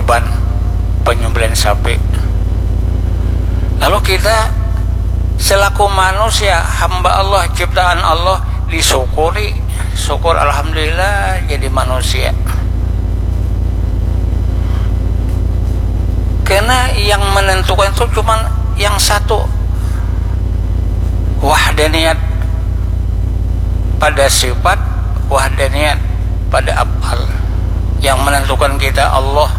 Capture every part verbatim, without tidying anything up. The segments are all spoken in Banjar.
kurban, penyembelihan sapi. Lalu kita selaku manusia, hamba Allah, ciptaan Allah, disyukuri. Syukur, alhamdulillah, jadi manusia. Karena yang menentukan itu cuman yang satu, wahdaniyat pada sifat, wahdaniyat pada af'al. Yang menentukan kita Allah,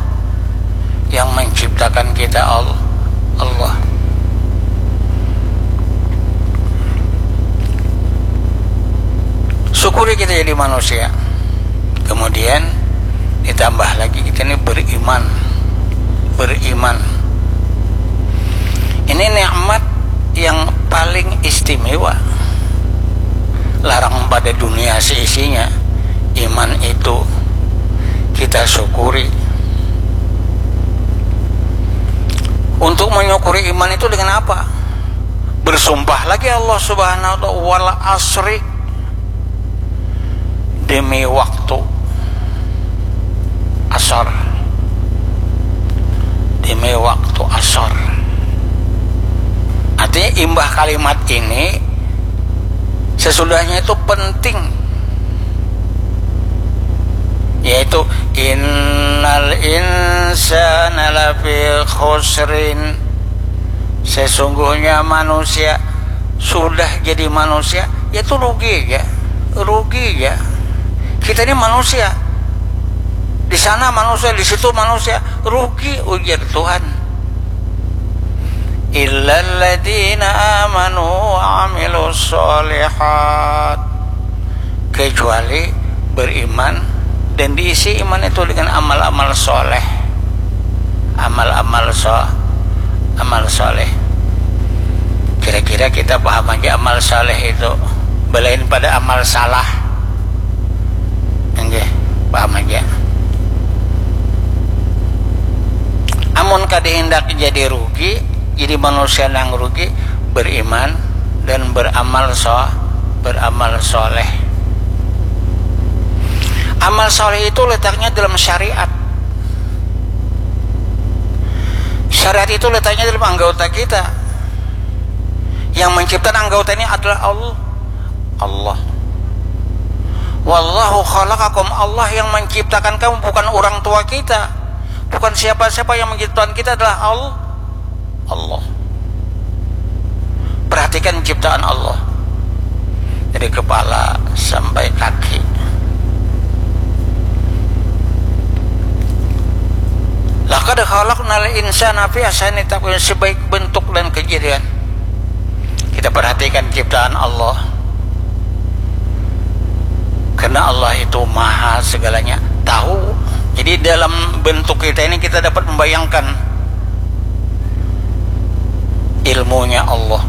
yang menciptakan kita Al-, Allah. Syukuri kita jadi manusia. Kemudian ditambah lagi kita ini beriman. Beriman. Ini nikmat yang paling istimewa. Larang pada dunia seisinya. Iman itu kita syukuri. Untuk menyukuri iman itu dengan apa? Bersumpah lagi Allah Subhanahu wa Ta'ala, "Wal asri," demi waktu asar, demi waktu asar. Artinya, imbah kalimat ini, sesudahnya itu penting, yaitu, "Innal insana lafi khusrin." Sesungguhnya manusia sudah jadi manusia, ya itu rugi aja, rugi aja. Kita ini manusia, di sana manusia, di situ manusia, rugi, ujar Tuhan. Illalladzina amanu wa amilus sholihat. Kecuali beriman dan diisi iman itu dengan amal-amal soleh. Amal-amal so-, amal soleh. Kira-kira kita paham aja amal soleh itu. Belain pada amal salah. Nggih, paham aja. Amun kada hendak jadi rugi, jadi manusia nang rugi, beriman dan beramal so-, beramal soleh. Amal soleh itu letaknya dalam syariat. Syariat itu letaknya dalam anggota kita. Yang menciptakan anggota ini adalah Allah. Allah. Wallahu khalaqakum, Allah yang menciptakan kamu, bukan orang tua kita. Bukan siapa-siapa, yang menciptakan kita adalah Al-, Allah. Perhatikan ciptaan Allah. Dari kepala sampai kaki. Laqad khalaqnal insana fi ahsani taqwim, sebaik bentuk dan kejadian. Kita perhatikan ciptaan Allah. Karena Allah itu maha segalanya, tahu. Jadi dalam bentuk kita ini kita dapat membayangkan ilmunya Allah.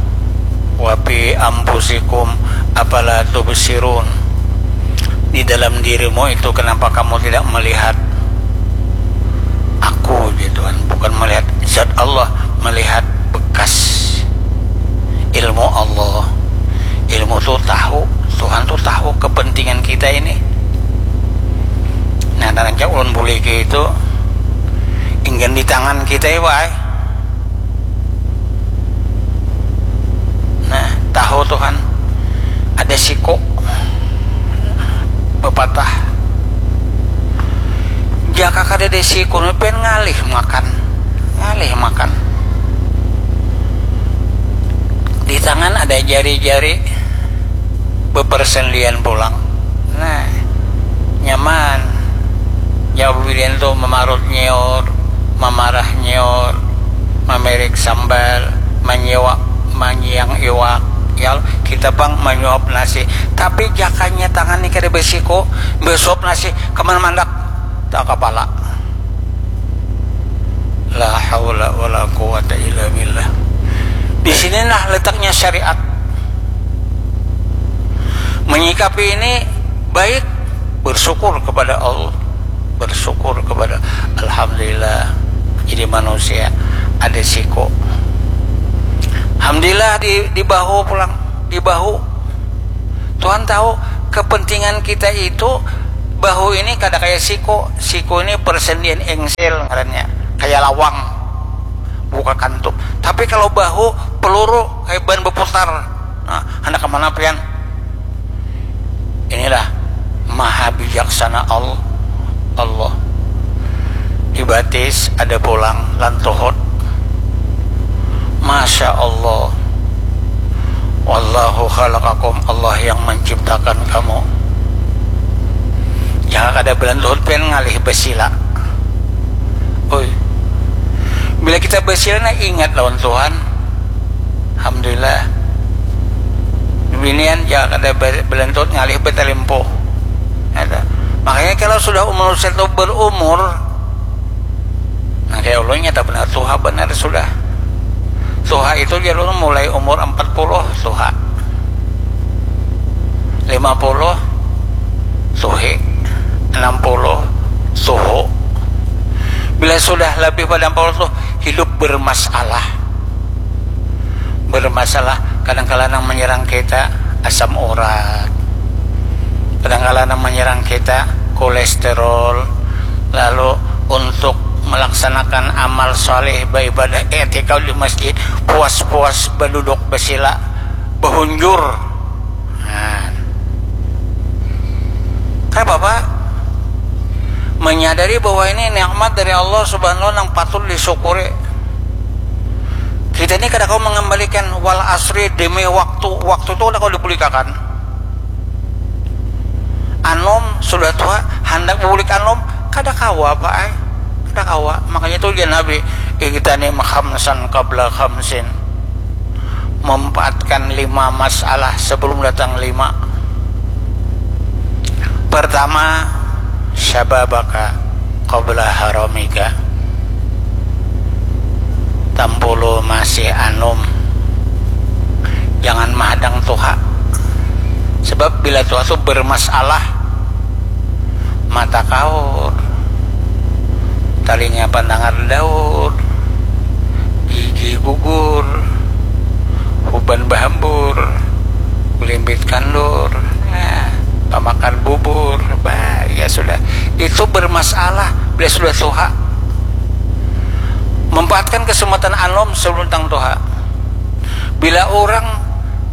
Wa fi anfusikum afala tubsirun. Di dalam dirimu itu kenapa kamu tidak melihat aku, gitu kan? Bukan melihat zat Allah, melihat bekas ilmu Allah. Ilmu tuh tahu, Tuhan tuh tahu kepentingan kita ini. Nah, dan cak ulun buliki itu ingin di tangan kita ya, wai. Nah, tahu Tuhan ada siku bepatah. Jaka kada ada siku, pengen ngalih makan, ngalih makan. Di tangan ada jari-jari bepersendian pulang. Nah, nyaman. Jawab bibirian tu mamarut nyiur, mamarah nyiur, mamirik sambal, manyiwak, manyiang iwak. Ya, kita pang manyuap nasi. Tapi jakanya tangan ni kada besiku, besuap nasi, kemana mandak? Tak kepala. La haula wala quwata illa billah. Di sinilah letaknya syariat. Menyikapi ini baik, bersyukur kepada Allah, bersyukur kepada, alhamdulillah, jadi manusia ada siku. Alhamdulillah di, di bahu pulang, di bahu. Tuhan tahu kepentingan kita itu Bahu ini kada kaya siku, siku ini persendian engsel ngarannya, kaya lawang, buka kantup. Tapi kalau bahu, peluru, kaya ban beputar. Nah, handak kemana pian? Inilah maha bijaksana Allah. Di batis ada pulang lan tuhut. Masya Allah. Wallahu khalaqakum, Allah yang menciptakan kamu. Jangan kada belantuhut pian ngalih basila. Oi. Bila kita basila, nah, ingat lawan Tuhan. Alhamdulillah. Binian jangan kada be- belantuhut ngalih batalimpuh. Ada. Makanya kalau sudah umur satu berumur, nah, kayak ulun nyata benar tuha benar sudah. Tuha itu jalur mulai umur empat puluh tuha. Lima puluh tuhi, enam puluh tuhu. Bila sudah lebih pada empat puluh tuh hidup bermasalah. Bermasalah, kadang-kadang yang menyerang kita asam urat. Kadang-kadang yang menyerang kita kolesterol. Lalu untuk melaksanakan amal saleh, beribadah, i'tikaf di masjid, puas-puas beduduk besila, behunjur. Nah. Kenapa, Pak? Menyadari bahwa ini nikmat dari Allah Subhanahu wa taala yang patut disyukuri. Kita ini kada kawa mengembalikan, wal asri, demi waktu. Waktu itu kada kawa dibulikakan. Anum sudah tua, handak bubulik anum, kada kawa, Pak ai. Kada kawa. Makanya itu ujar Nabi, "Igtanim khamsan qabla khamsin." Memanfaatkan lima masalah sebelum datang lima. Pertama, syababaka qabla haramika. Tampulu masih anum, jangan mahadang tuha. Sebab bila tuha tu bermasalah, mata kaur, talinga pandangar daur, gigi gugur, huban bahambur, kulimbit kandur, nah, pamakar bubur, bah, ya sudah. Itu bermasalah bila sudah tuha. Memanfaatkan kesempatan anum sebelum tang tuha. Bila orang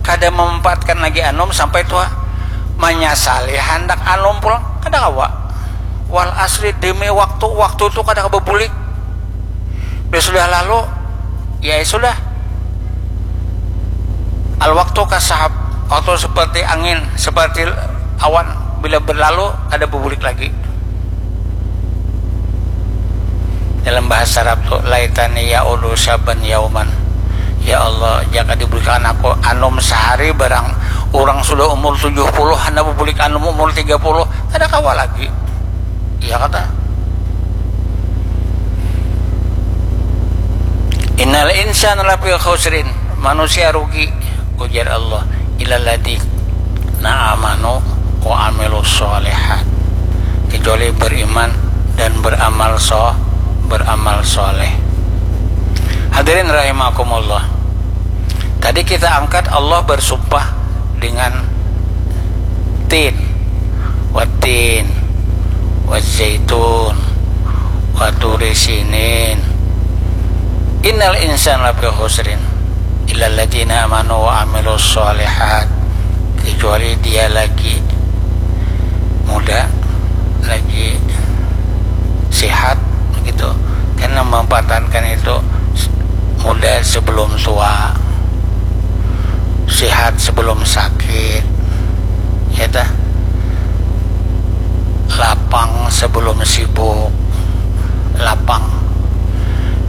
kada memanfaatkan lagi anum sampai tuha, manyasali handak anum pulang, kada kawa. Wal asri, demi waktu, waktu tu kada kawa babulik. Bila sudah lalu, ya sudah. Al waktu kasahab, waktu seperti angin, seperti awan, bila berlalu kada babulik lagi. Dalam bahasa Arab tu, laitani ya'udu syaban yauman. Ya Allah, jaka diberikan aku anum sehari barang. Orang sudah umur tujuh puluh, handak bubulik anum umur tiga puluh, kada kawa lagi. Iya kata. Innal insana lafi khusrin, manusia rugi, ujar Allah, illalladzina amanu wa amilus sholihat, kecuali beriman dan beramal so beramal soleh. Hadirin rahimakumullah. Tadi kita angkat Allah bersumpah dengan tin, watin, wazaitun, waturi sinin. Innal insana lafi khusrin, illalladzina amanu wa amilus sholihat, kecuali dia lagi muda, lagi sehat gitu, karena memanfaatkan itu muda sebelum tua, sehat sebelum sakit, ya dah, lapang sebelum sibuk. Lapang.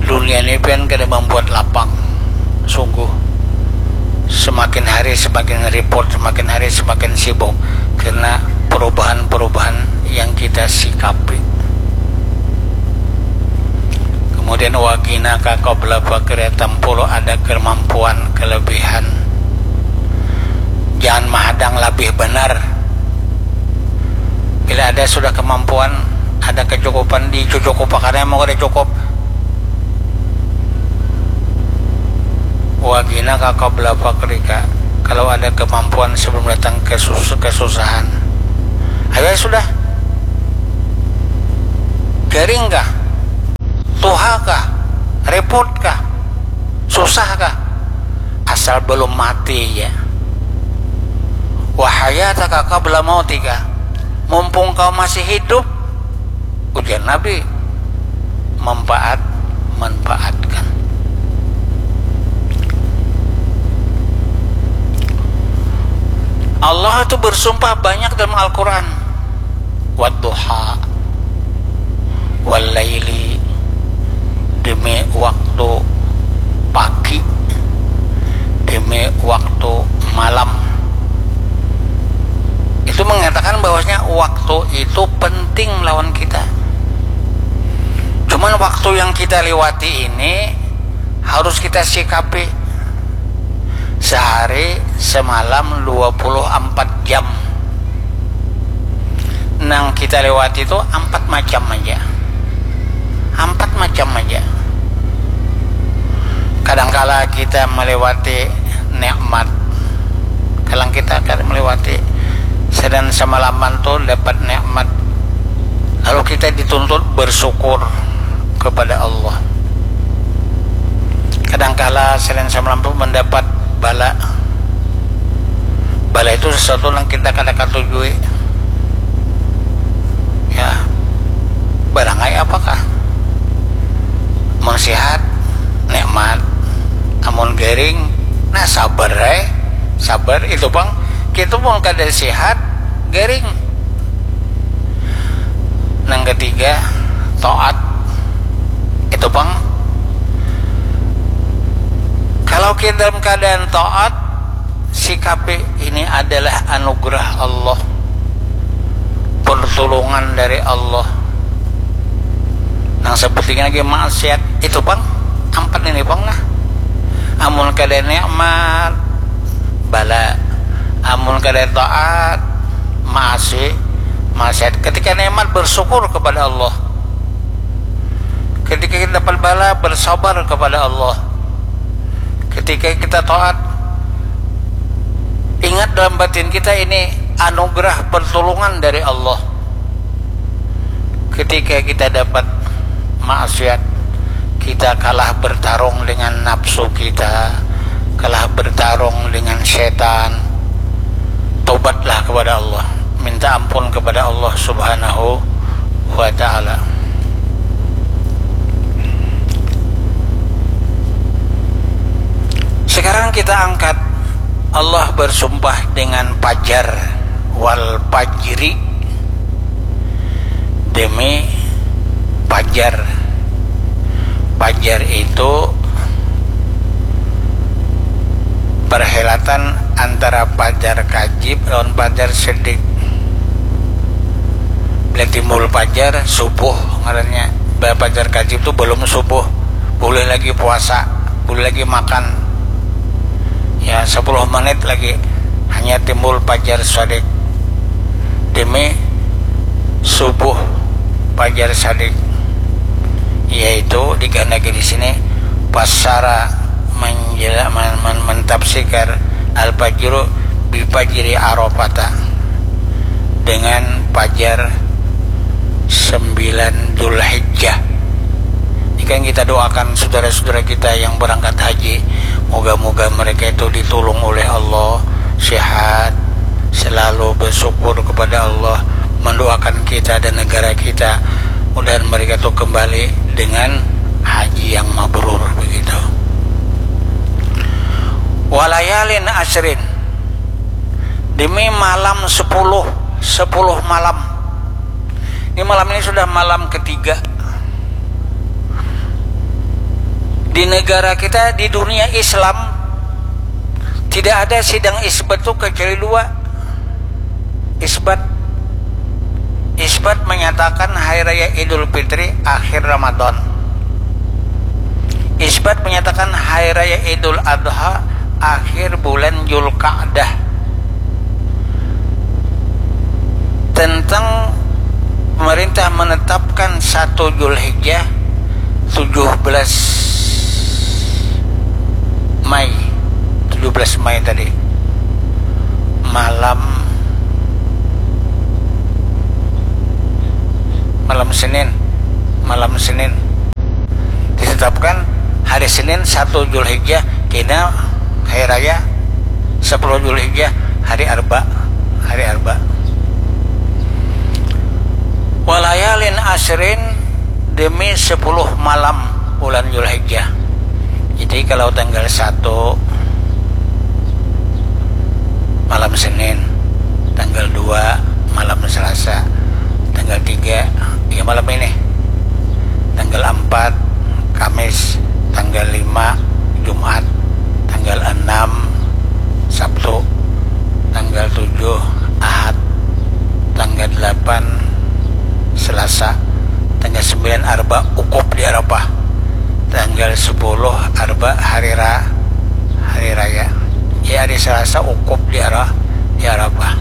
Dunia ini pian kada membuat lapang. Sungguh, semakin hari semakin repot, semakin hari semakin sibuk karena perubahan-perubahan yang kita sikapi. Kemudian, wagina ka qabla fakir, tampulu ada kemampuan, kelebihan. Jangan mahadang, labih benar. Bila ada sudah kemampuan, ada kecukupan, dicucukupakan, mau kada cukup. Wagina ka qabla fakrika, kalau ada kemampuan sebelum datang kesus kesusahan. Ayo sudah, Garing kah? Tuha kah? Repot kah? Susah kah? Asal belum mati ja. Wa hayataka qabla mautika. Mumpung kau masih hidup, ujar Nabi, manfaat, manfaatkan. Allah itu bersumpah banyak dalam Al-Quran. Wadduha, wallaili, demi waktu pagi, demi waktu malam. Itu mengatakan bahwasanya waktu itu penting lawan kita. Cuman waktu yang kita lewati ini harus kita sikapi. Sehari semalam dua puluh empat jam. Nang kita lewati tu empat macam aja. Empat macam aja. Kadangkala kita melewati nikmat. Kadang kita akan melewati sedang semalaman tu dapat nikmat. Lalu kita dituntut bersyukur kepada Allah. Kadangkala selain semalam tu mendapat bala. Bala itu sesuatu yang kita kada katujui. Ya, barangai apakah? Mun sihat, nikmat. Amun garing, nah sabar ai. Sabar itu pang. Kita pun kada sihat, garing. Nang ketiga, taat. Itu pang. Kalau kita dalam keadaan taat, sikapi ini adalah anugerah Allah, pertolongan dari Allah. Nang sepertinya lagi maksiat, itu pang, empat ini pang nah. Amun kada nikmat, bala. Amun kada taat, maasi, maksiat. Ketika nikmat, bersyukur kepada Allah. Ketika kita dapat bala, bersabar kepada Allah. Ketika kita taat, ingat dalam batin kita ini anugerah pertolongan dari Allah. Ketika kita dapat maksiat, kita kalah bertarung dengan nafsu kita, kalah bertarung dengan setan. Tobatlah kepada Allah, minta ampun kepada Allah Subhanahu wa Ta'ala. Sekarang kita angkat, Allah bersumpah dengan fajar, wal fajri, demi fajar. Fajar itu perhelatan antara fajar kajib lawan fajar sedik. Bila timbul fajar, subuh ngarannya. Bila fajar kajib tu belum subuh, boleh lagi puasa, boleh lagi makan. Ya, sepuluh menit lagi, hanya timbul fajar sodik. Demi subuh fajar sodik, yaitu dikehendaki di sini, fassara, menjela-, men-, men-, mentafsirkan al-fajru bi fajri Arafata, dengan fajar sembilan Dzulhijjah. Ini kan kita doakan saudara-saudara kita yang berangkat haji, moga-moga mereka itu ditolong oleh Allah, sehat, selalu bersyukur kepada Allah, mendoakan kita dan negara kita, mudahan mereka itu kembali dengan haji yang mabrur begitu. Walayalin asyrin, demi malam sepuluh, sepuluh malam. Ini malam ini sudah malam ketiga. Di negara kita, di dunia Islam, tidak ada sidang isbat tu kecuali dua. Isbat, isbat menyatakan hari raya Idul Fitri akhir Ramadan. Isbat menyatakan hari raya Idul Adha akhir bulan Zulkaadah. Tentang pemerintah menetapkan satu Zulhijjah, tujuh belas Mei, tujuh belas Mei tadi, malam, malam Senin. Senin satu Julhijjah kena hari raya, sepuluh Julhijjah hari Arba, hari Arba. Walayalin asrin, demi sepuluh malam bulan Julhijjah. Jadi kalau tanggal satu malam Senin, tanggal dua malam Selasa, tanggal tiga ya malam ini, tanggal empat Kamis, tanggal lima Jumat, tanggal enam Sabtu, tanggal tujuh Ahad, tanggal delapan Selasa, tanggal sembilan Arba, wukuf di Arafah, tanggal sepuluh Arba, hari ra hari raya. Ya, hari Selasa wukuf di Ara di Arafah.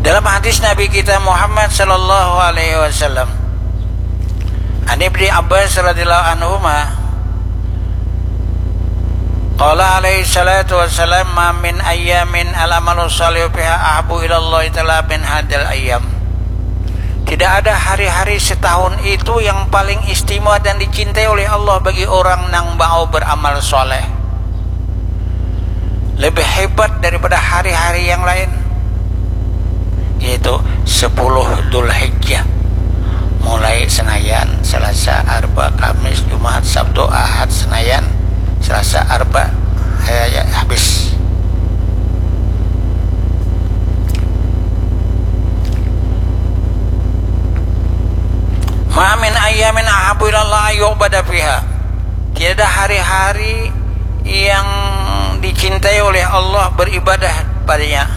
Dalam hadis Nabi kita Muhammad sallallahu alaihi wasallam, An Ibni Abbas radhiyallahu anhuma, qala alaihi salatu wassalam, "Ma min ayyamin al-amalu shalihu fiha ahabbu ilallahi ta'ala min hadhil ayyam." Tidak ada hari-hari setahun itu yang paling istimewa dan dicintai oleh Allah bagi orang nang mau beramal soleh. Lebih hebat daripada hari-hari yang lain, yaitu sepuluh Dzulhijjah. Mulai Senayan, Selasa, Arba, Kamis, Jumat, Sabtu, Ahad, Senayan, Selasa, Arba, ya, ya, habis. Ma min ayyamin ahabbu ilallah ayyubada fiha. Tiada hari-hari yang dicintai oleh Allah beribadah padanya.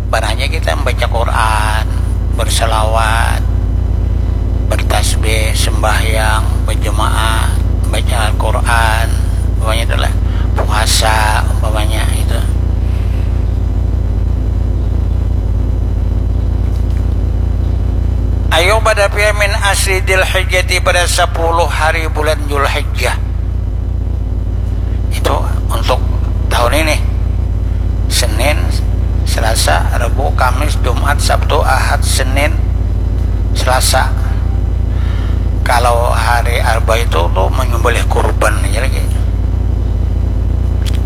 Padanya kita membaca Quran, berselawat, bertasbih, sembahyang, berjemaah, baca Al-Quran, umpamanya itulah puasa, umpamanya itu. Ayyubada fiha min asri Dzulhijjati, pada sepuluh hari bulan Dzulhijjah. Itu untuk tahun ini. Senin, Selasa, Rabu, Kamis, Jumat, Sabtu, Ahad, Senin, Selasa. Kalau hari Arba itu tuh menyembelih kurban aja lagi.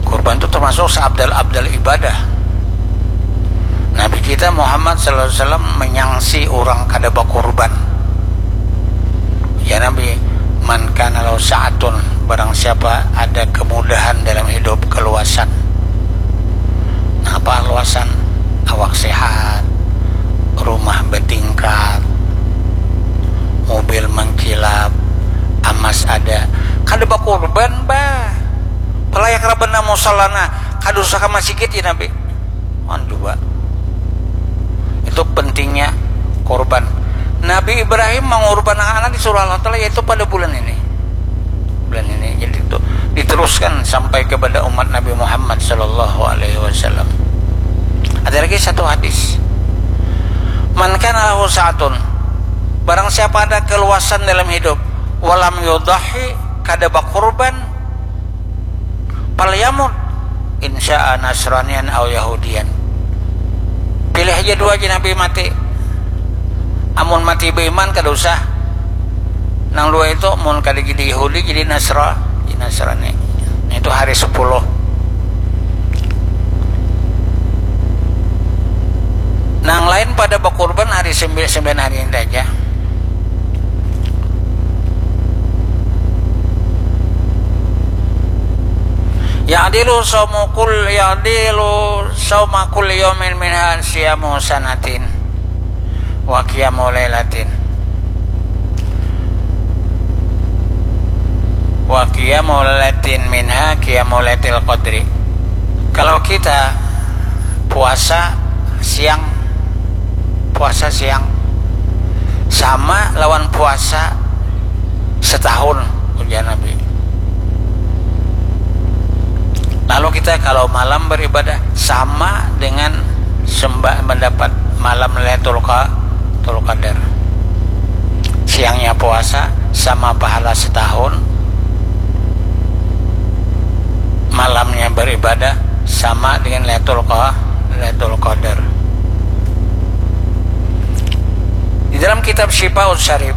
Kurban itu termasuk seabdal-abdal ibadah. Nabi kita Muhammad sallallahu alaihi wasallam menyangsi orang kada bakurban. Ya Nabi, "Man kana lahu sa'atun," barang siapa ada kemudahan dalam hidup, keluasan. Nah, apa luasan? Awak sehat, rumah bertingkat, mobil mengkilap, amas ada. Kada bakurban, bah. Palayak rabana musallana, kada usah ka masigit ya Nabi. Wan coba. Itu pentingnya korban. Nabi Ibrahim mengorbankan anak disuruh Allah Ta'ala, yaitu pada bulan ini. Bulan ini. Jadi itu diteruskan sampai kepada umat Nabi Muhammad sallallahu alaihi wasallam. Ada lagi satu hadis. "Man kana lahu sa'atun," barang siapa ada keluasan dalam hidup, "walam yudhahi," kada bakurban, "falyamut in syaa nasraniyan au yahudiyan." Pilih aja dua aja Nabi mati. Amun mati beriman kada usah. Nang dua itu mun kada jadi Yahudi jadi Nasra, jadi Nasrani. Itu hari sepuluh. Nang lain pada bakurban hari sembilan, sembilan hari ini aja. Ya'dilu saumu kul ya'dilu sauma kulli yaumin minha siyamu sanatin wa qiyamu lailatin wa qiyamu lailatin minha qiyamu lailatul qadri. Kalau kita puasa siang, puasa siang sama lawan puasa setahun, ujar Nabi. Lalu kita kalau malam beribadah sama dengan sembah mendapat malam Lailatul Qa- Lailatul Qadar. Siangnya puasa sama pahala setahun, malamnya beribadah sama dengan Lailatul Qa- Lailatul Qadar. Di dalam kitab Syifaus Syarif,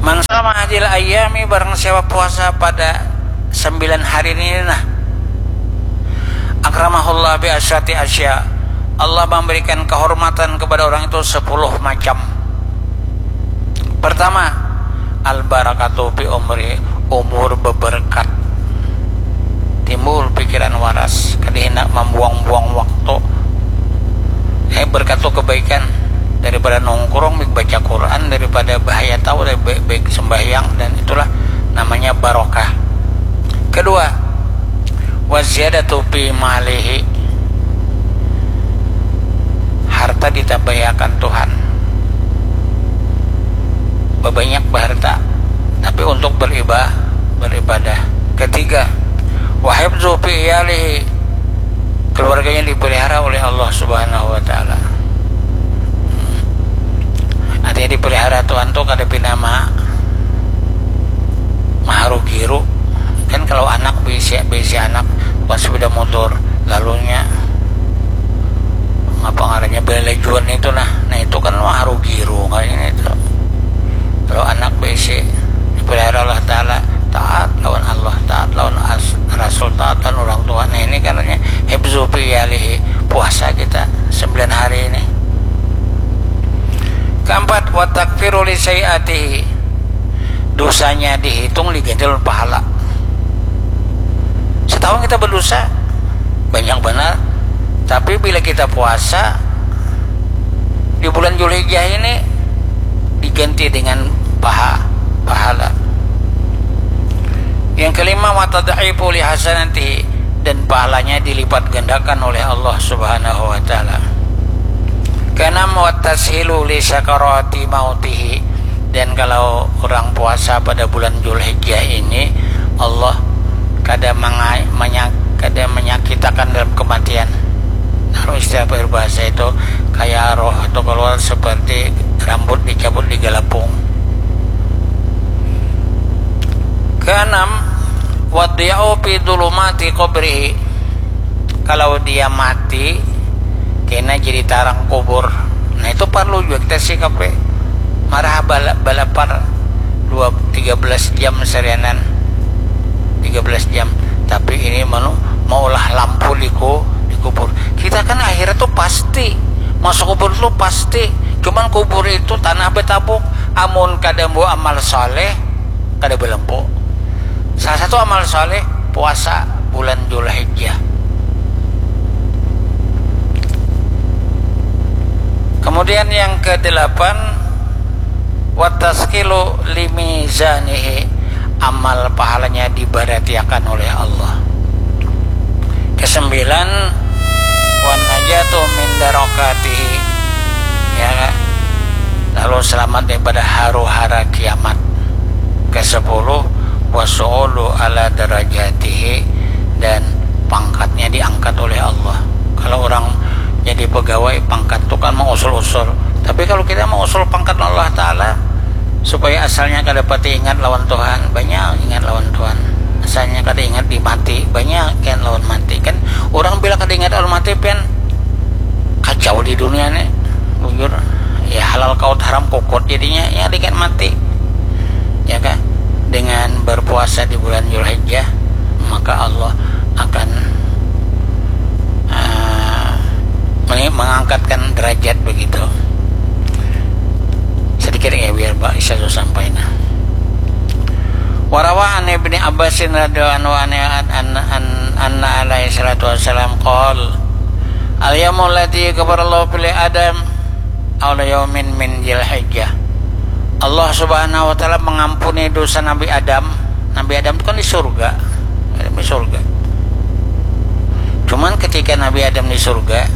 "Man sama Hadil ayami, barang siapa puasa pada sembilan hari ini nah, akramahullah bi asyrati asya, Allah memberikan kehormatan kepada orang itu sepuluh macam. Pertama, al barakatu fi umri, umur beberkat. Timbul pikiran waras, kada hendak membuang-buang waktu. Eh, berkat tu kebaikan, daripada nongkrong, baik baca Quran, daripada bahaya tahu, dari baik, baik sembahyang, dan itulah namanya barokah. Kedua, wa ziyadatu fi malihi, harta ditambahiakan Tuhan, babanyak baharta, tapi untuk beriba-, beribadah. Ketiga, wa hifzu fi iyalihi, keluarganya dipelihara oleh Allah Subhanahu wa Ta'ala. Artinya dipelihara Tuhan tu kada pina ma-, maharu giru. Kan kalau anak, bisi, bisi anak, bukan sepeda motor, lalunya apa ngarannya, balajuan itu nah. Nah, itu kan maharu giru kayaknya itu. Kalau anak bisi dipelihara Allah Ta'ala, taat lawan Allah, taat lawan as-, Rasul, taat lawan orang tua. Nah, ini katanya hifzu fi iyalihi, puasa kita sembilan hari ini. Keempat, wa takfiru li sayyiatihi, dosanya dihitung, diganti lawan pahala. Setahun kita berdosa banyak benar, tapi bila kita puasa di bulan Zulhijjah ini, diganti dengan paha-, pahala. Yang kelima, wa tad'ifu li hasanatihi, dan pahalanya dilipat gandakan oleh Allah Subhanahu wa Ta'ala. Keenam, wa tashilu li sakarati mautihi, dan kalau orang puasa pada bulan Zulhijjah ini, Allah kada manga-, manya-, kada menyakitakan dalam kematian. Kalau istilah peribahasa itu, kayak roh itu keluar seperti rambut dicabut di galapung. Keenam, wa diya'u fi dhulumati qabrihi. Kalau dia mati, kena jadi tarang kubur. Nah, itu perlu juga kita sikapi. Marah bala-, balapar dua, tiga belas jam sarianan. Tiga belas jam. Tapi ini manu-, maulah lampu di ku-, di kubur. Kita kan akhirat tu pasti. Masuk kubur tu pasti. Cuman kubur itu tanah betabuk. Amun kada bawa amal saleh, kada balampu. Salah satu amal saleh, puasa bulan Zulhijjah. Kemudian yang kedelapan, wa taskilu li mizanihi, amal pahalanya dibaratiakan oleh Allah. Kesembilan, wa najatu min darokatihi, ya, lalu selamat daripada haru-hara kiamat. Kesepuluh, wa su'udu ala darajatihi, dan pangkatnya diangkat oleh Allah. Kalau orang jadi pegawai, pangkat tu kan mausul-usul. Tapi kalau kita mausul pangkat Allah Ta'ala, supaya asalnya kada pati ingat lawan Tuhan, banyak ingat lawan Tuhan. Asalnya kada ingat di mati, banyak ingat lawan mati. Kan orang bila kada ingat lawan mati, pian kacau di dunia ni. Bujur, ya, halal kaut, haram kukut jadinya, ya, dengan mati. Ya kan? Dengan berpuasa di bulan Zulhijjah, maka Allah akan, ah, meni-, mengangkatkan derajat begitu. Sedikit ya, biar ba-, bisa tu sampai, nah. Wa rawa an Ibni Abbasin radhiyallahu anhu an, an, an, anna alaihi salatu wassalam qol, "Al yaumul ladzi ghafarallahu fi Adam awwala yaumin min Dzulhijjah." Allah Subhanahu wa Ta'ala mengampuni dosa Nabi Adam. Nabi Adam itu kan di surga. Adam di surga. Cuman ketika Nabi Adam di surga,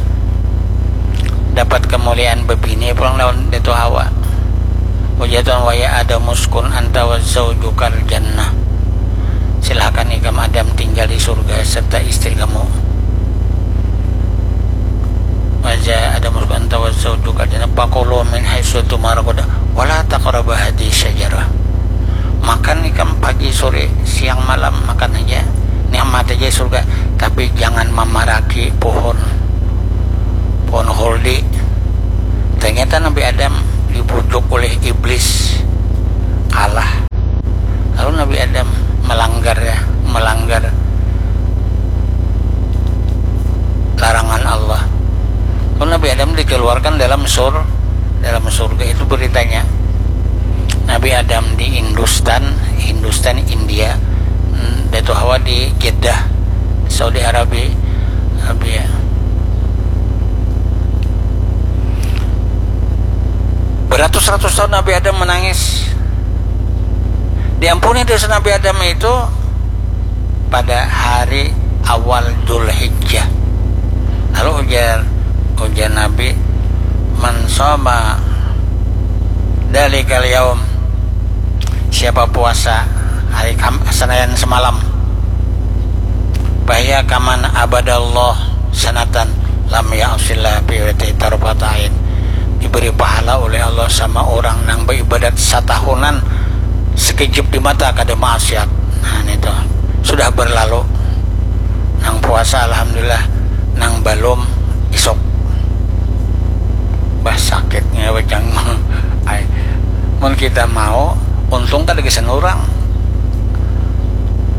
dapat kemuliaan bebini pulang lawan Datu Hawa. Ujar Tuhan, "Wa ya Adam uskun anta wa zaujukal jannah." Silakan ikam Adam tinggal di surga serta istri kamu. Wa ya Adam uskun anta wa zaujukal jannah, fakulu min haitsu tu'mar ragadan, wa la taqraba hadhihi syajarah. Makan ikam pagi, sore, siang, malam, makan aja. Nikmat aja surga, tapi jangan mamaraki pohon, pohon khuldi. Ternyata Nabi Adam dibujuk oleh iblis, kalah. Sur dalam surga itu beritanya. Nabi Adam di Hindustan, Hindustan, India. Hmm, Datu Hawa di Jeddah, Saudi Arabia. Arabia. Beratus-ratus tahun Nabi Adam menangis. Diampuni dosa Nabi Adam itu pada hari awal Dzulhijjah. Lalu ujar, ujar Nabi, "Man shoma dzalikal yaum," siapa puasa hari Kam-, Senayan semalam, "fahiya kaman abadallah sanatan lam ya'sillah fi waqti tarfat ain," diberi pahala oleh Allah sama orang nang beribadat satahunan sekejap di mata kada maksiat. Nah, itu sudah berlalu. Nang puasa, alhamdulillah. Nang balum, isuk. Bah, sakitnya bacang. Ai, mun kita mau, untung kada gasan urang.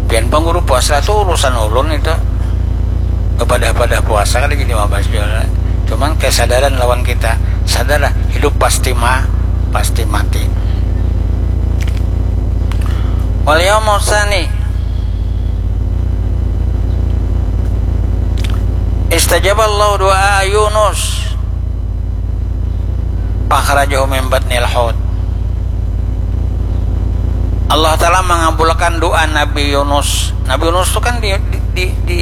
Pian pang guru puasa tu urusan ulun itu. Bepadah-padah puasa kada jadi mabahas jua. Cuman kesadaran lawan kita. Sadarlah, hidup pasti ma-, pasti mati. Wal yaumu tsani. Istajaballahu du'a Yunus. Fakhrajahu min batnil hut. Allah Ta'ala mangabulakan doa Nabi Yunus. Nabi Yunus tu kan di, di, di, di,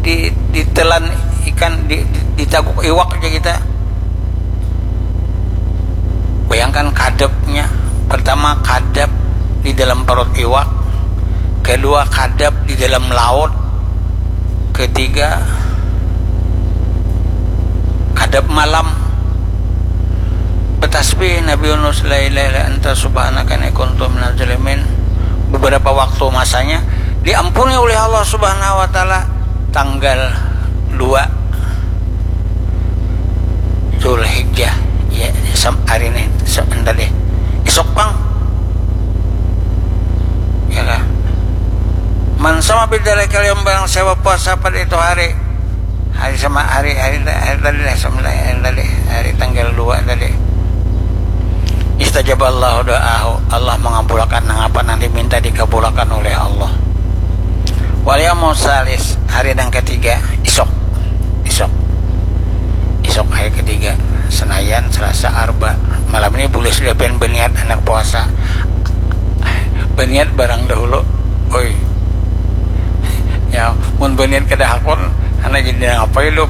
di, ditelan ikan, di, di, ditaguk iwak aja kita. Bayangkan kadepnya. Pertama, kadep di dalam perut iwak. Kedua, kadep di dalam laut. Ketiga, kadep malam. Betasbih Nabi Yunus, "La ilaha illa anta subhanaka inni kuntu minaz zalimin." Beberapa waktu masanya diampuni oleh Allah Subhanahu wa Ta'ala tanggal dua Zulhijjah. Ya, sam-, hari ini, sam-, tadi. Isuk pang. Ya kah? Man sama bidzalikal yaum, barang siapa puasa pada itu hari. Hari sama hari, hari, hari tadi lah, sama hari tadi, hari tanggal dua tadi. Istajaballahu doahu, Allah mengabulakan nang apa nang diminta dikabulakan oleh Allah. Wal yaumu tsalis, hari nang ketiga, isuk. Isuk. Isuk hari ketiga, Senayan, Selasa, Arba. Malam ini boleh sudah pian berniat anak puasa. Berniat barang dahulu. Oi. Ya, mun berniat kada hakun, anak jadi nang apa hidup?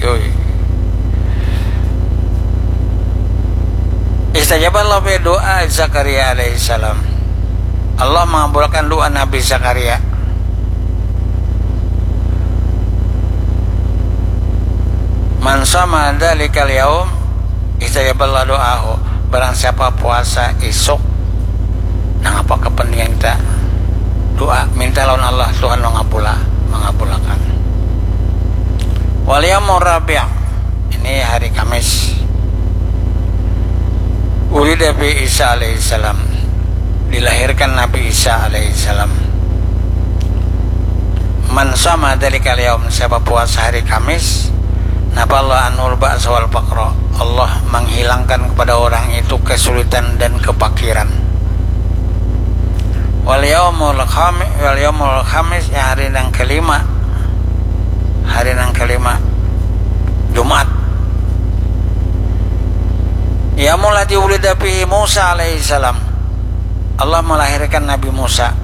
Yoi. Istajaballahu fi doa Zakaria alaihissalam. Allah mengabulkan doa Nabi Zakaria. Man sama dzalikal yaum istajaballahu doahu. Barang siapa puasa isuk, nang apa kepentingan kita, doa, minta lawan Allah, Tuhan mengabula, mengabulakan. Wal yaumur rabi', ini hari Kamis. Wulida fi Isa alaihissalam, dilahirkan Nabi Isa alaihissalam. Man sama dzalikal yaum, siapa puasa hari Kamis, nafallahu anhul ba'sa wal faqra, Allah menghilangkan kepada orang itu kesulitan dan kepakiran. Wal yaumul khami-, wal yaumul khamis, yang hari yang kelima, hari yang kelima, Jumat. Yaumul ladzi wulida fihi Musa alaihissalam, Allah melahirkan Nabi Musa.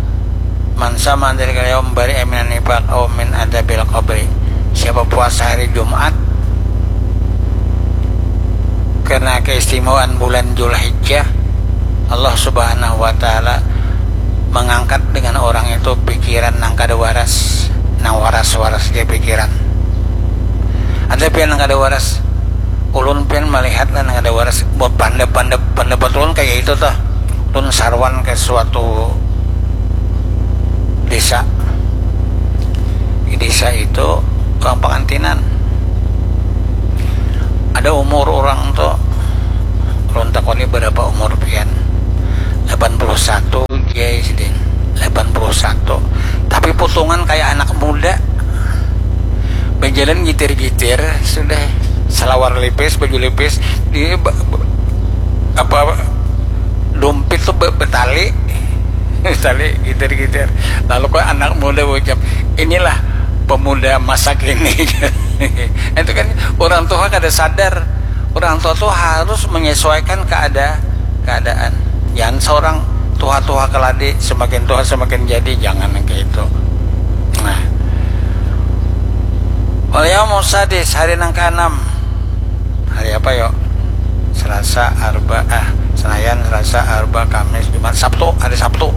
Man sama dzalikal yaum bari'a minan nifaq au min adzabil qabri. Siapa puasa hari Jumat, karena keistimewaan bulan Zulhijjah, Allah Subhanahu wa Ta'ala mengangkat dengan orang itu pikiran nang kada waras, nang waras-waras dia pikiran. Ada pian nang kada waras, ulun pian melihat lah nang kada waras, buat pandap-pandap, pendapat ulun kayak itu tuh. Ulun saruan ke suatu desa. Di desa itu orang pengantinan. Ada umur orang tuh, ulun takoni berapa umur pian. Delapan puluh satu, jai sidin. Delapan puluh satu. Tapi putungan kayak anak muda. Berjalan gitir-gitir, sudah salawar lipis, baju lipis, di ba- ba- apa, dumpit tu be- betali, betali gitir-gitir. Lalu kok anak muda ucap, "Inilah pemuda masa kini." Itu kan orang tua kada sadar. Orang tua tu harus menyesuaikan keada keadaan. Jangan seorang tua-tua keladi, semakin tua semakin jadi, jangan yang kayak itu. Nah, wal yaumus sadis, hari nang keenam. Hari apa yo? Selasa, Arba, ah, Senayan, Selasa, Arba, Kamis, Jumat, Sabtu, hari Sabtu.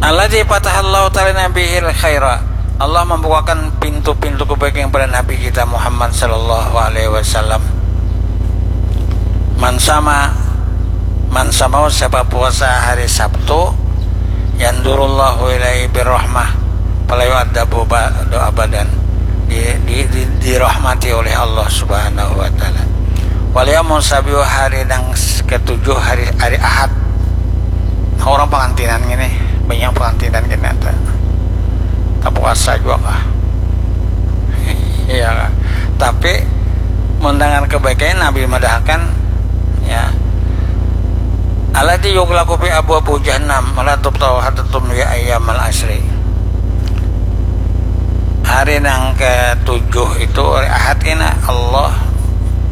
Alladzi fatahallahu ta'ala nabihil khaira. Allah membukakan pintu-pintu kebaikan kepada Nabi kita Muhammad sallallahu alaihi wasallam. Man sama, man sama, siapa puasa hari Sabtu, yandurullahu ilaihi birrahmah, fala yu'adzabu ba'du abadan. Di, di, di, dirahmati oleh Allah Subhanahu wa taala. Wal yaumus sabiu, hari nang s- ketujuh, hari hari Ahad. Nah, orang pengantinan gini, banyak pengantinan gini ada. Tak puasa juga kah? Iya kah? Tapi mendengar kebaikannya Nabi madahkan, ya, alladzi yughlaqu fi abwabu jahannam wa la tuftahu hatta tumdi ayyamal asri. Hari nang ketujuh itu, hari Ahad ini, Allah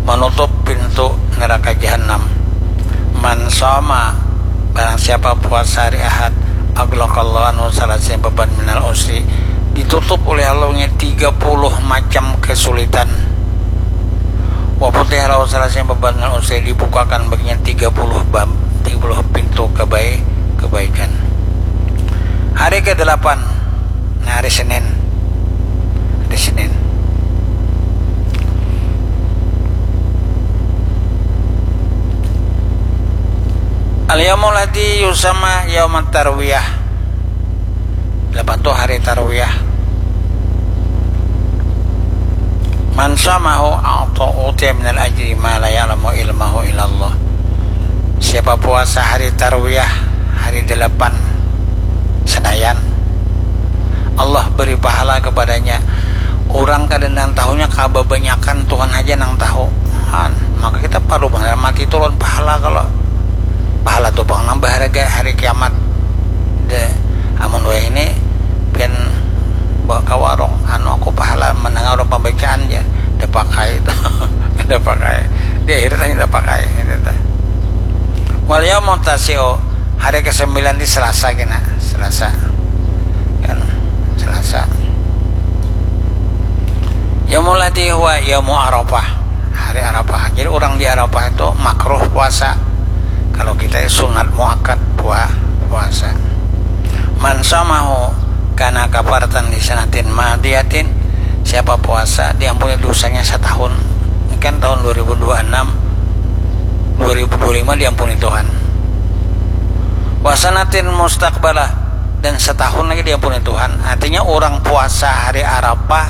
menutup pintu neraka jahanam. Man sama, barang siapa puasa hari Ahad, aghlaqallahu anhu salasin baban minal usri, ditutup oleh Allah nya tiga puluh macam kesulitan. Wa futiha lahu salasin baban minal usri, dibukakan baginya tiga puluh bab, tiga puluh pintu kebaik kebaikan. Hari kedelapan, nah, hari Senin. Hari Senin. Al yaumul ladzi yusamma yaumat tarwiyah. Lepas tu hari tarwiyah. Man samahu a'ta utiya minal ajri ma la ya'lamu ilmahu illallah. Siapa puasa hari tarwiyah, hari delapan Senayan, Allah beri pahala kepadanya. Orang kada nang tahunya kababanyakan, Tuhan haja nang tahu. Han, maka kita perlu banar mati tu lawan pahala. Kalau pahala tu pang nang baharaga hari kiamat. De, amun wayah ini pian bawa ka warung, anu, aku pahala mendengar orang pembacaan ja, da pakai tu. Da pakai. Di akhirat hanya da pakai, gitu ta. Wal yaumut tasi'u, hari kesembilan di Selasa kena, Selasa. Kan, Selasa. Yaumul ladzi huwa yaumu Arafah, hari Arafah. Jadi orang di Arafah itu makruh puasa. Kalau kita sunat muakkad pua- puasa. Man samahu kana kafaratan li sanatin madiyatin. Siapa puasa diampuni dosanya setahun. Ini kan tahun dua ribu dua puluh enam, dua ribu dua puluh lima diampuni Tuhan. Wasanatin mustaqbalah, dan setahun lagi diampuni Tuhan. Artinya orang puasa hari Arafah,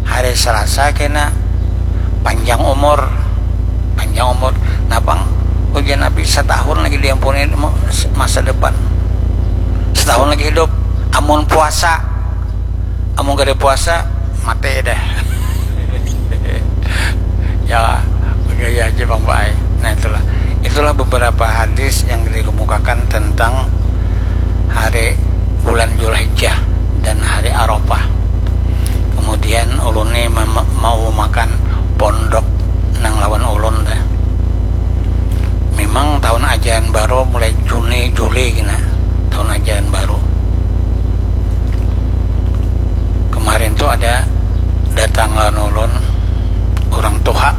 hari Selasa kena panjang umur, panjang umur. Napang ujian Nabi setahun lagi diampuni masa depan, setahun lagi hidup. Amun puasa, amun kada puasa, mati dah. Ya, gaya aja bang baik. Nah, itulah, itulah beberapa hadis yang dikemukakan tentang hari bulan Julhijjah dan hari Arafah. Kemudian ulun ni mem- mau makan pondok nang lawan ulun dah. Memang tahun ajaran baru mulai Juni, Juli kena tahun ajaran baru. Kemarin tu ada datang lawan ulun orang tuha.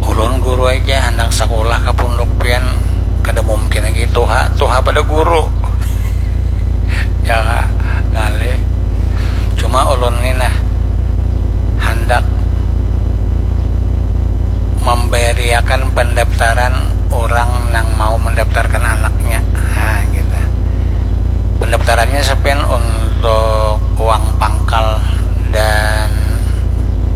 Ulun guru aja, handak sakulah ka punduk pian, kada mungkin lagi tuha, tuha pada guru. Ya, ngalih. Cuma ulun ni nah, handak memberiakan pendaftaran orang nang mau mendaftarkan anaknya. Nah, gitu. Pendaftarannya sepen untuk uang pangkal dan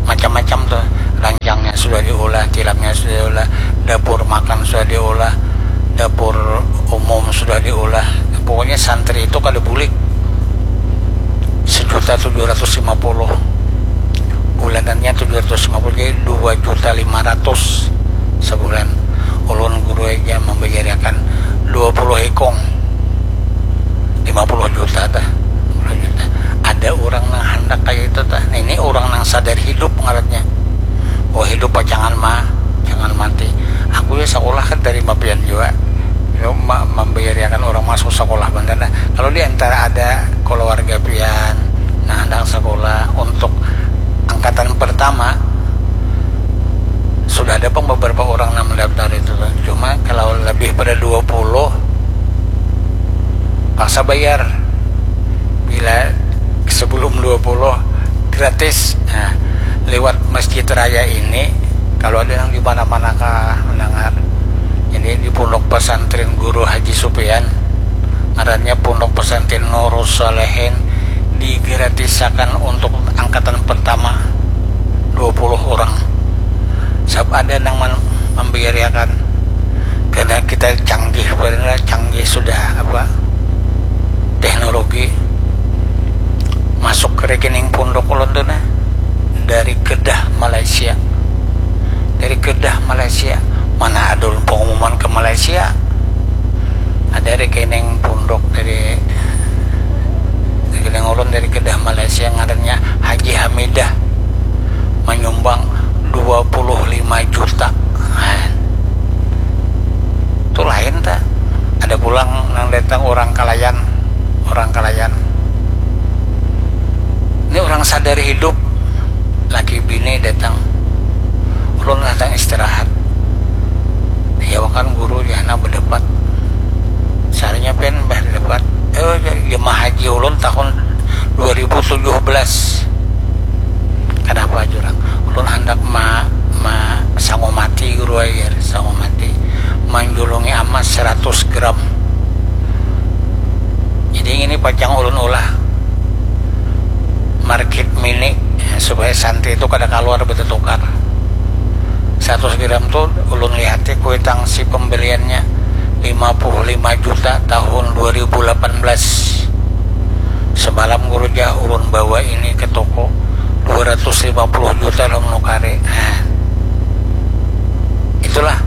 macam-macam tuh. Ranjangnya sudah diulah, tilapnya sudah diulah, dapur makan sudah diulah, dapur umum sudah diulah. Pokoknya santri itu kada bulik. juta tujuh ratus lima puluh, bulanannya tujuh ratus lima puluh, jadi dua juta lima ratus sebulan. Ulun guru aja membayariakan dua puluh ikung, lima puluh juta tah, lima puluh juta. Ada orang nang handak kayak itu tah. Nah, ini orang nang sadar hidup ngarannya. Oh, hidup pacangan mah, jangan mati. Aku ya sekolah kan dari mapian juga. Membayariakan orang masuk sekolah bandar. Nah, kalau di antara ada keluarga pian nah hendak sekolah untuk angkatan pertama, sudah ada pun beberapa orang yang mendaftar itu. Cuma kalau lebih pada dua puluh, paksa bayar. Bila sebelum dua puluh, gratis. Nah, lewat masjid raya ini, kalau ada yang di mana-mana kah mendengar, ini di Pondok Pesantren Guru Haji Supian, ngarannya Pondok Pesantren Nurus Salehin, digratisakan untuk angkatan pertama dua puluh orang. Sab ada nang membiayaakan, karena kita canggih, karena canggih sudah apa, teknologi. Masuk ke rekening pondok ulun tuh nah, dari Kedah, Malaysia. Dari Kedah, Malaysia. Mana ada pengumuman ke Malaysia? Ada rekening pondok dari, rekening ulun dari Kedah, Malaysia, ngarannya Haji Hamidah, menyumbang dua puluh lima juta. Nah, itu lain tak? Ada pulang nang datang orang Kalayan, orang Kalayan. Ini orang sadar hidup, laki bini datang. Ulun datang istirahat. Ya kan guru ya, nah, berdebat. Sarinya pen bah debat. Eh, jemaah haji ulun tahun dua ribu tujuh belas. Kenapa jurang? Ulun hendak ma, ma sangu mati guru air, sangu mati. Menjulungi emas seratus gram. Jadi ini pacang ulun ulah market mini, ya, supaya santri itu kada keluar bertukar. Seratus gram tuh ulun lihati kuitang si pembeliannya lima puluh lima juta tahun dua ribu delapan belas. Semalam guru jah ulun bawa ini ke toko, dua ratus lima puluh juta lah menukari. Nah, itulah.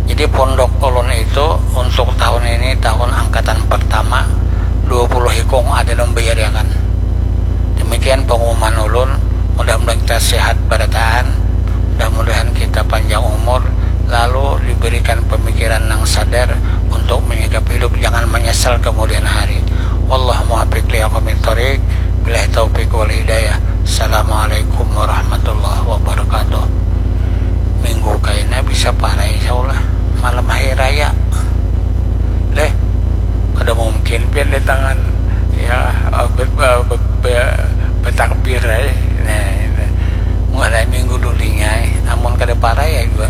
Jadi pondok ulun itu untuk tahun ini, tahun angkatan pertama, dua puluh ikung ada membayariakan. Demikian pengumuman ulun. Mudah-mudahan kita sehat barataan, mudah-mudahan kita panjang umur, lalu diberikan pemikiran yang sadar untuk menyikapi hidup, jangan menyesal kemudian hari. Wallahu muwaffiq li aqwamit thoriq. Billahi taufiq wal hidayah. Assalamualaikum warahmatullahi wabarakatuh. Minggu kaina bisa parai, insya Allah, malam hari raya. Deh, kada mungkin pian datangan, ya, be, be, be, be, betakbir ai. Nah, mulai minggu dulinya ai. Amun kada parai ya juga